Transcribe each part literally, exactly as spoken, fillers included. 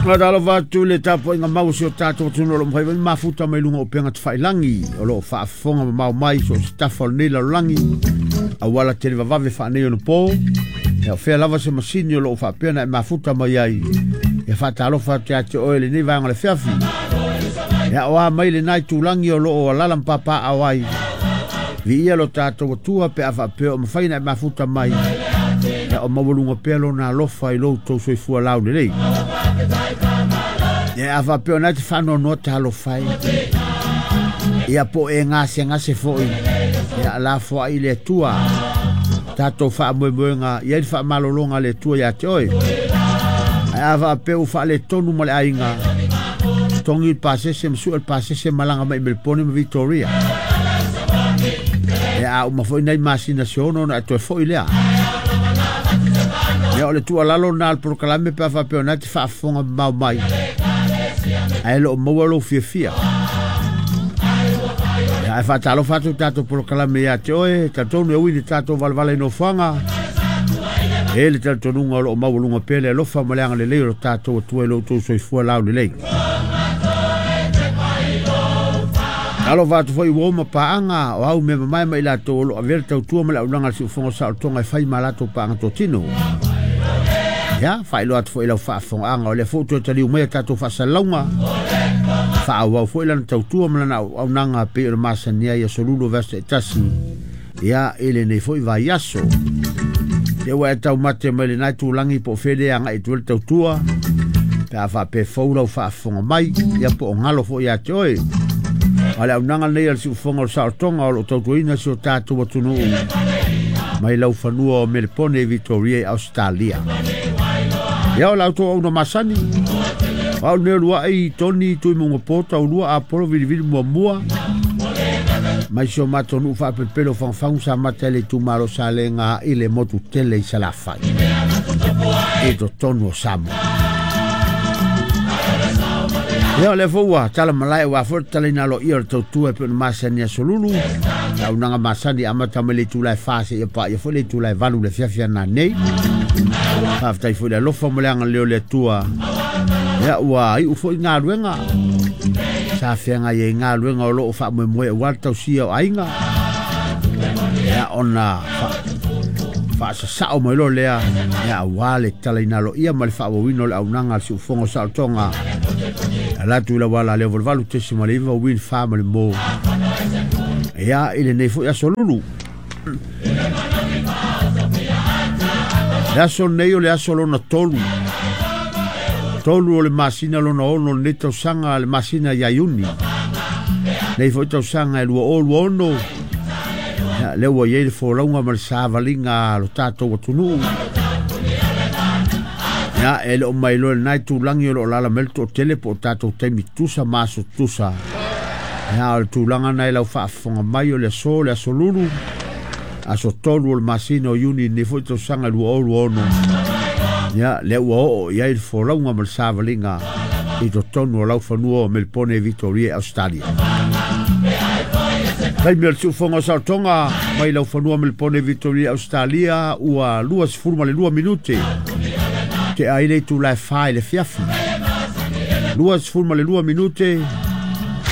Faatalofa atu i le tapuaiga mau o si o tatou atunuu o lo o mafai foi ona mafuta mai luga o upega tafailagi o lo o faafofoga mamao mai so o se tafa o lenei lalolagi auala televavave faaneionapo. Ia o fea lava se masini o lo o faapea na e mafuta mai ai. Ia faatalofa atu ia te oe lenei vaega o le fiafi. Ia o a mai lenai tūlangi o lo o alala mpapa ai. Viia lo tatou atua pe a faapea o mafai na e mafuta mai. Ia o maualuga pea lona alofa i lou tou soifua laulelei. Ia a faapea o nai te faanoanoa talofa ai. Ia po e gasegase foi. Ia lafoai le Atua. Tatou faamoemoega ia i le faamalologa a le Atua ia te oe. Ae a faapea ua faaletonu ma le aiga, togi le pasese ma sue le pasese malaga mai Melbourne ma Victoria. Ia a uma foi nai masina se ono ona e toe foi lea. Ia o le tuualalo na le polokalame pe a faapea o nai te faafofoga mamao mai. Ae loo maua lou fiafia. Ia ae faatalofa atu tatou polokalame ia te oe, talitonu e ui i le tatou valavala i nofoaga. E le talitonuga o loo maualuga pea le alofa ma le agalelei o lo tatou Atua i lo outou soifua laulelei. Alofa atu foi ua uma paaga o au mea mamae ma i latou o lo o avea le tautua ma le auaunaga a le siufofoga o saolotoga e fai ma latou paaga totino. Ia, faailoa atu foi i lau faafofogaaga o lea foi ua toe taliu mai a tatou faasalalauga. Faaauau foi lana tautua ma lana auaunaga pei o le masani ai aso lulu vaiaso taitasi. Ia, i lenei foi vaiaso. Ia ua e taumate mai lenai tūlangi po o fea le agai atu ai le tautua. Pe a faapea fou lau faafofoga mai, ia po o galo foi ia te oe. A le auaunaga lenei a le siufofoga o le saolotoga o lo o tautuaina si o tatou atunuu mai laufanua o Melepone i Victoria i Australia. Ia o la outou auauna masani, o au lenei o luai Toni Tuimaugapo taulua Apolo vilivili muamua mai si o matou nuu faapelopelo o Fangufangu sa mata i le itumalo Salega i le motu tele i Salafai i totonu o Samoa. Ia o lea foi ua tala malae aua foi le talaina aloaia o le tautua e pei ona masani aso lulu. Le auaunaga masani amata mai le itula e fa seia paia foi le itula e valu i le afiafi a nanei. Faafetai foi i le alofa ma le agalelei o le Atua. Ia ua iu foi galuega. Sa feagai ai galuega o lo o faamoemoe aua le tausia o aiga. Ia ona faasasao mai loa lea, ia aua le talaina aloaia ma le faaauauina o le auaunaga a le siufofoga o saolotoga. Ala atu i lau ala lea valuvalu tesi ma le iva uini fa ma le mo. Ia i lenei foi aso lulu. Le aso nei o le aso lona tolu. Tolu o le masina lona ono o lenei tausaga le masina ia Iuni. Nei foi tausaga e lua o lua ono. Ia lea ua i ai le folauga ma le savaliga a lo tatou atunuu. Ia e le o mailoa i lenai tūlangi o lo o lala mai le toatele po o tatou taimi tusa ma aso tusa. Ia o le tulaga na i lau faafofoga mai o le aso le aso lulu. Aso tolu o le masina o Iuni nei foi tausaga lua o lua ono. Ia lea ua oo i ai le folauga ma le savaliga i totonu o laufanua o Melbourne, Victoria, Australia. Taimi o le siufofoga o saolotoga mai laufanua Melbourne, Victoria, Australia ua lua sefulu ma le lua minute. Te ai le itula e fa i le fiafi. Lua sefulu ma le lua minute.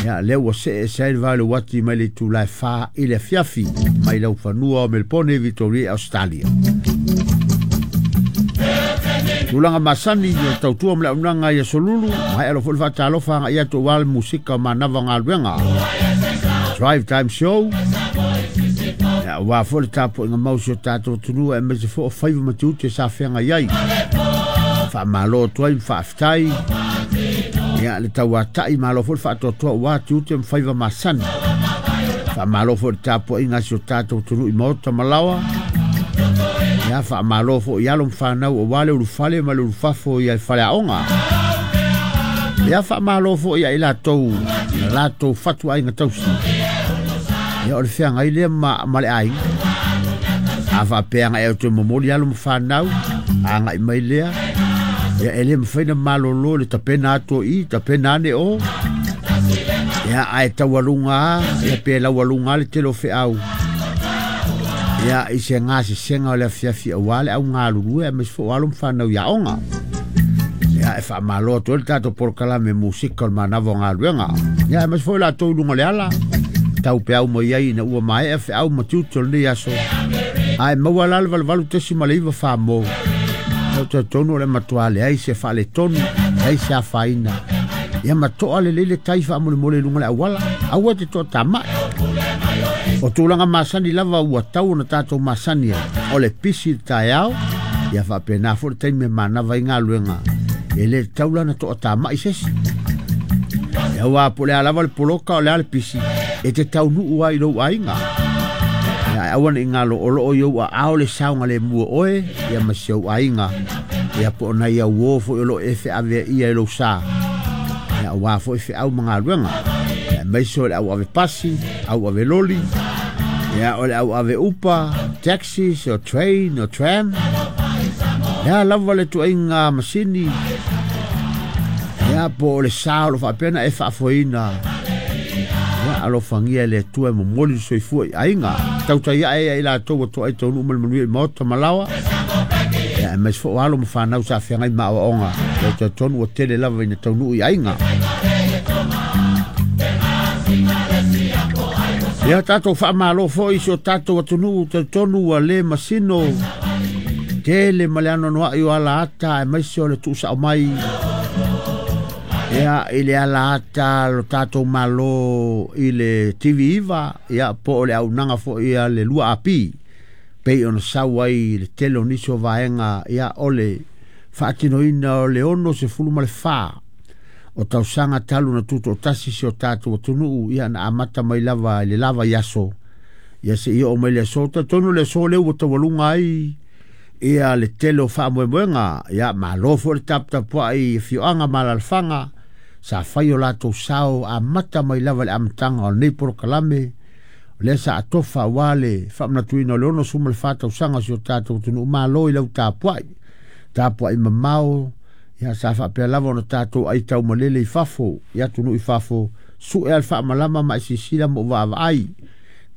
Ia lea ua see ese ai le va o le uati mai le itula e fa i le afiafi mai laufanua o Melbourne, Victoria, Australia. Tulaga masani o tautua ma le auaunaga i aso lulu, ma e alo foi le faatalofa agai atu aua le musika o manava galuega. Drive Time Show. Ia aua foi le tapuaiga mau si o tatou atunuu aemaise foi o faiva ma tiute sa feagai ai. Faamalo atu ai ma faafetai. Ia le tauatai malo foi le faatoatoa aua tiute ma faiva masani. Faamalo foi le tapuaiga a si o tatou atunuu i maota ma laoa. Ia faamalo foi i alo ma fanau aua le ulufale ma le ulufafo ia i faleaoga. Ia faamalo foi ia i latou na latou fatuaiga tausi. Ia o le feagai lea ma, ma le aiga. A faapea agai au toe momoli alo ma fanau, agai mai lea. Ia e le mafai na malolo le tapena atu o i, tapena ane o. Ia ae taualuga a, ia pe laualuga a le tele o feau. Ia i se gasesega o le afiafi aua le augalulue aemaise foi o alo ma fanau i aoga. Ia e faamalo atu ai le tatou polokalame musika o le manava o galuega. Ia e maise foi latou i luga o le ala tau peau mai ai ina ua maea feau ma tiute o lenei aso. Ae maua la le valuvalu tesi ma le iva famo. Ia talitonu o le matua leai se faaletonu, leai se afaina. Ia matoa lelei le tai faamolemole i luga o le auala, aua te toatamai. O tulaga masani lava ua tau ona tatou masani ai, o le pisi i le taeao, ia faapena foi le taimi e manava ai galuega. E le tatau la ona toatamai se isi. Ia ua po o le a lava le poloka o le a le pisi, e te taunuu ai i lou aiga. Ia aua ne i galo o loo i ou aao le saogalemu o oe, ia ma si ou aiga. Ia po o nai auō foi o loo e feaveaia i lou sa. Ia aua foi feau ma galuega. Ia aemaise o le au ave pasi, au ave loli, ia o le au ave upa, taxis o train o tram. Ia lava le tuaiga masini. Ia po o le sa o lo faapea na e faafoeina. Ia alofagia e le Atua e momoli le soifua i aiga. Tautai ae ia i latou ua toai taunuu ma le manuia i maota ma laoa. Ia aemaise foi o alo ma fanau sa feagai ma aoaoga. Ia talitonu ua tele lava ina taunuu i aiga. Ia tatou faamalo foi i si o tatou atunuu, talitonu ua le masino tele ma le anoanoai o ala ata aemaise o le tuusao mai. Ia i le ala ata lo tatou malo i le T V iva, ia po o le auaunaga foi a le lua A P, pei ona sau ai le tele o nisi o vaega, ia o le faatinoina o le ono sefulu ma le fa o tausaga talu na tutoatasi si o tatou atunuu, ia na amata mai lava i le lava i aso. Ia seia oo mai le aso, talitonu le aso lea ua taualuga ai ia le tele o faamoemoega. Ia malo foi le taputapuai i afioaga ma alaalafaga sa fai o latou sao amata mai lava i le amataga o lenei polokalame. O lea sa atofa aua le faamanatuina o le ono sefulu ma le fa tausaga o si o tatou atunuu. Malo i lau tapuai, tapuai mamao. Ia sa faapea lava ona tatou aitau malele i fafo, i atunuu i fafo, sue a le faamalama ma e silasila ma ou vaavaai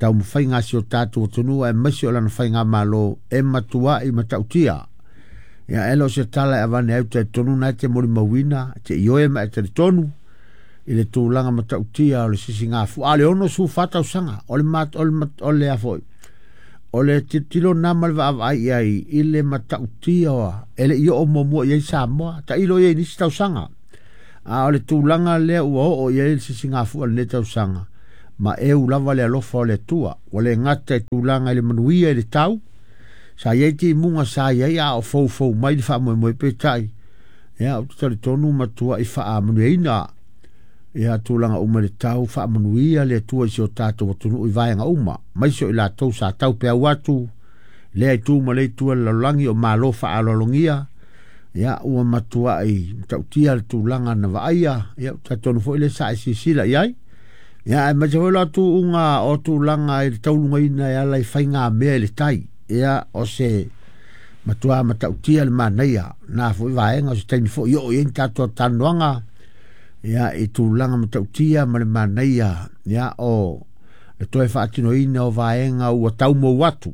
taumafaiga a si o tatou atunuu aemaise o lana faigamalo e matuai matautia. Ia e le o se tala e avane ai, ou talitonu na e te molimauina, te ioe ma e talitonu i le tulaga matautia o le sisigafua. A o le ono sefulu fa tausaga o le mat, o le mat, o le a foi, o le tilotilo na ma le vaavaai i ai i le matautia oa, e le i oo muamua i ai Samoa, tailo i ai nisi tausaga. A o le tulaga lea ua oo i ai le sisigafua o lenei tausaga, ma eu lava le alofa o le Atua. Ua le gata i tulaga i le manuia i le tau, sa i ai timuga sa i ai a o foufou mai le faamoemoe peitai. Ia, ou te talitonu matua i faamanuiaina ia tulaga uma i le tau, faamanuia le Atua i si o tatou atunuu i vaega uma, maise o i latou sa tau peau atu, lea i tu ma le itu o le lalolagi o malo faaaloalogia. Ia ua matuai matautia le tulaga na vaaia. Ia, ou te talitonu foi lea sa e silasila i ai. Ia, aemaise foi lo atuuga o tulaga i le taulugaina e ala i faigamea i le tai. Ia, o se matua matautia le manaia na foi vaega o se taimi foi oo i ai ni tatou talanoaga. Ia, i tulaga matautia ma le manaia, ia, o le toe faatinoina o vaega ua taumou atu.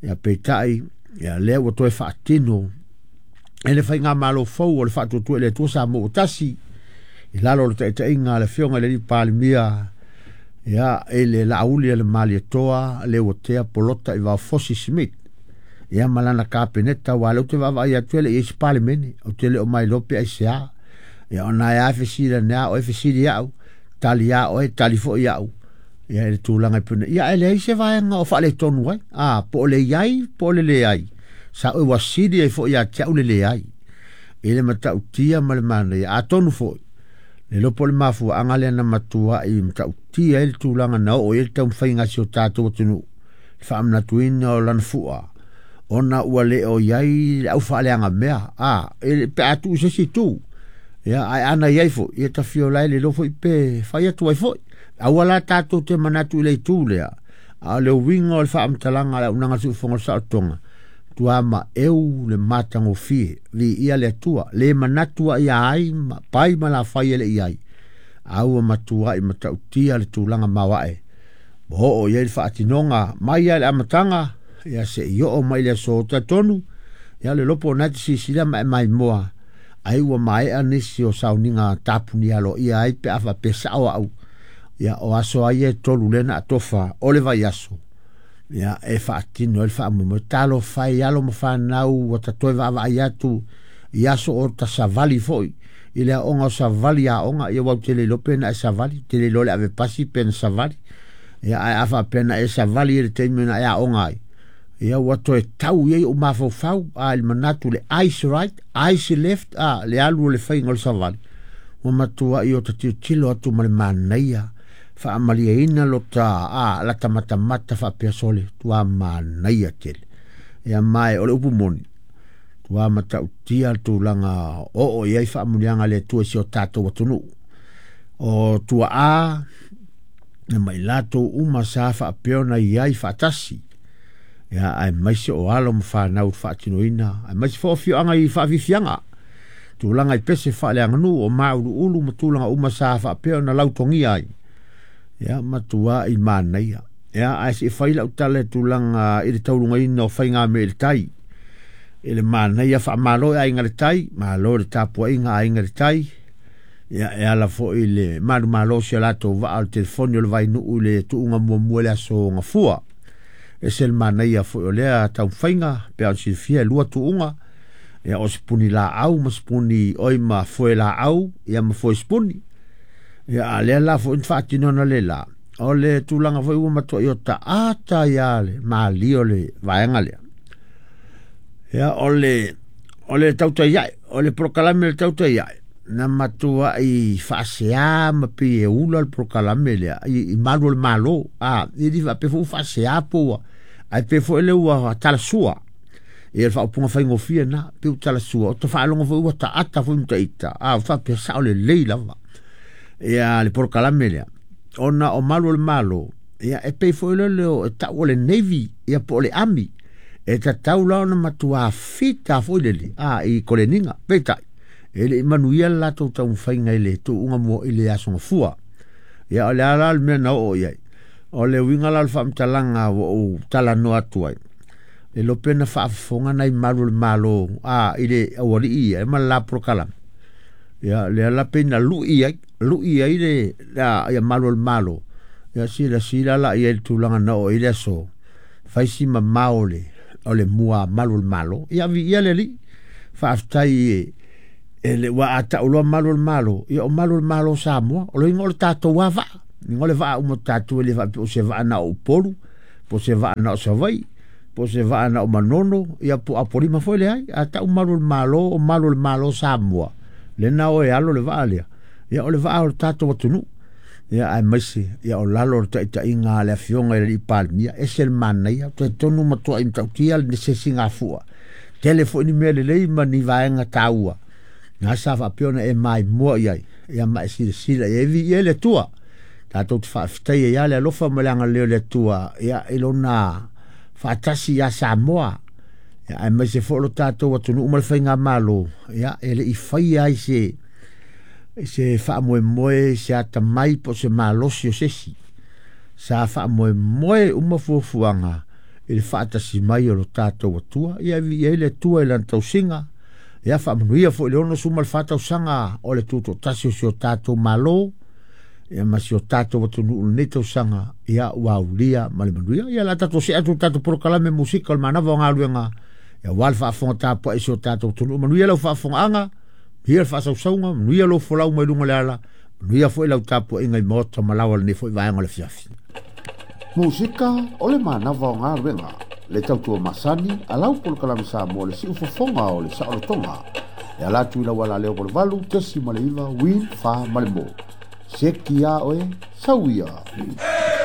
Ia, peitai, ia, lea ua toe faatino e le faigamalo fou o le faatuatua i le Atua Samoa ua tasi, i lalo o le taitaiga a le afioga i le alii Palemia, ia, i le Laauli a le Malietoa, le ua tea Polota i Vaofosi Smith. Ia, ma lana kapeneta, ua lea ou te vaavaai atu e le i ai se Palemene, ou te le o mailoa pe aisea. Ia, ona e a fesili ane a oe, fesili au, tali a oe, tali foi au. Ia, i le tulaga i puna. Ia, e leai se vaega o faaletonu ai. A, po o le iai, po o le leai. Sa oe wasili ai foi ia te au le leai. I le matautia ma le manaia. Atonu foi, le lopo le mafuaanga lea na matua i matautia ai le tulaga na oo i ai le taumafaiga a si o tatou atunuu. Le faamanatuina o lana fua, ona ua le o i ai le au faaleagamea. A, e pe a tuu se isi itu. Ia, ae ana i ai foi, ia tafio lai le lo foi pe fai atu ai foi. Aua la tatou te manatu i le itu lea. A o le uiga o le faamatalaga a le auaunaga siufofoga o le saolotoga, tua ma eu le matagofie, viia le Atua, le manatu ai ai ma pai ma la fai e le i ai. A ua matua i matautia le tulaga maoae. Ma oo i ai le faatinoga mai ai le amataga, ia se i oo mai le aso talitonu, ia le lopo o nai te silasila ma e maimoa. Ai ua maea nisi o sauniga tapuni aloaia ai pe a faapea sao au. Ia o aso ai e tolu lea na atofa o le vaiaso. Ia e faatino ai le faamoemoe talofa e alo ma fanau ua tatoe vaavaai atu i aso o tasavali foi i le aoga o savali aoga ia ua ou te le iloa pe na e savali te le iloa le ave pasi pe na savali ia ae a faapea na e savali i le taimi na e aoga ai ia ua toe tau i ai ou mafaufau a i le manatu le eyes right eyes left a le alu o le faiga o le savali ua matuai o ta tilotilo atu ma le manaia faamalieina lota a lata matamata faapea sole tua manaia tele ia mae o le upu moni ua matautia le tulaga oo i ai faamuliaga a le Atua i si o tatou atunuu o tuaa ma i latou uma sa faapea ona i ai faatasi ia aemaise o alo ma fanau i le faatinoina aemaise foi o afioaga i faafiafiaga tulaga i pese faaleaganuu o mauluulu ma tulaga uma sa faapea ona lautogia ai ia matua i manaia ia ae se i fai lau tala i tulaga i le taulugaina o faigamea i le tai i le manaia faamalo e aiga i le tai malo i le tapuaiga a aiga i le tai ia e ala foi i le malumalo o si o latou vaa o le telefoni o le vainuu i le tuuga muamua i le aso Gafua. Ese le manaia foi o lea taumafaiga pe a ona silafia e lua tuuga ia o sipuni laau ma sipuni oi ma foe laau ia ma foe sipuni. Ia a lea la foi na faatino le la o le tulaga foi ua matuai o taata ia le malie o le vaega lea. Ia o le o le tautai ae o le polokalame o le tautai ae na matuai faasea ma pei e ula le polokalame lea i, i malu o le malo a e le faapea foi ua faasea po ua ae pei foi lea ua talasua ia le faaupuga faigofie na pei ua talasua o ta faalogo foi ua taata foi ma ita a faapea sao lelei lava ia le polokalame lea ona o malu o le malo ia e pei foi lea e tau o le navy ia po o le army e tatau la ona matua fita foi lele a i koleniga peitai e le i manuia le latou taumafaiga i le tuuga mua i le aso Gafua. Ia o le a la le mea na oo i ai o le uiga la o le faamatalaga ua ou talanoa atu ai e iloa pe na faafofoga nai malu o le malo a i le aualii ia e ma le la polokalame ia lea la pei na lui ai lui ai le ia malu o le malo ia silasila la i ai le tulaga na oo i le aso fai si mamao o le o le mua malu o le malo ia viia le Alii faafetai e e le ua a tau loa malu o le malo ia o malu o le malo o Samoa o le uiga o le tatou lava vaa uiga o le vaa uma o tatou e le faapea o se vaa na o Upolu po o se vaa na o Savaii po o se vaa na o Manono ia po o Apolima foi leai a tau malu o le malo o malu o le malo o Samoa lena o e alo le vaa lea ia o le vaa o le tatou atunuu ia aemaise ia o lalo o le taitaiga a le afioga i le alii Palemia ese le manaia talitonu matuai matautia le se sigafua tele foi ni mea lelei ma ni vaega taua na sa faapea ona e maimoa i ai ia ma e silasila i ai viia le Atua tatou te faafetaia ia le alofa ma le agalelei o le Atua ia i lona faatasi ia Samoa ia aemaise foi lo tatou atunuu ma le faigamalo ia e le i faia ai se se faamoemoe se atamai po o se malosi o se isi sa faamoemoe uma fuafuaga i le faatasi mai o lo tatou Atua ia viia ai le Atua i lana tausiga ia faamanuia foi i le ono sefulu ma le fa tausaga o le tutoatasi o si o tatou malo ia ma si o tatou atunuu i lenei tausaga ia ua aulia ma le manuia ia la tatou see atu i le tatou polokalame musika o le manava o galuega ia aua le faafofoga tapuai i si o tatou atunuu manuia lau faafofogaaga manuia le faasausauga manuia lou folau mai luga o le ala manuia foi lau tapuaiga i maota ma laoa i lenei foi vaega o le afiafi. Musika o le manava o galuega le tautua masani a lau polokalame Samoa le siufofoga o le saolotoga e ala atu i lau alaleo valuvalu tesi ma le iva win fa ma le mo. Seki a oe, sau ia.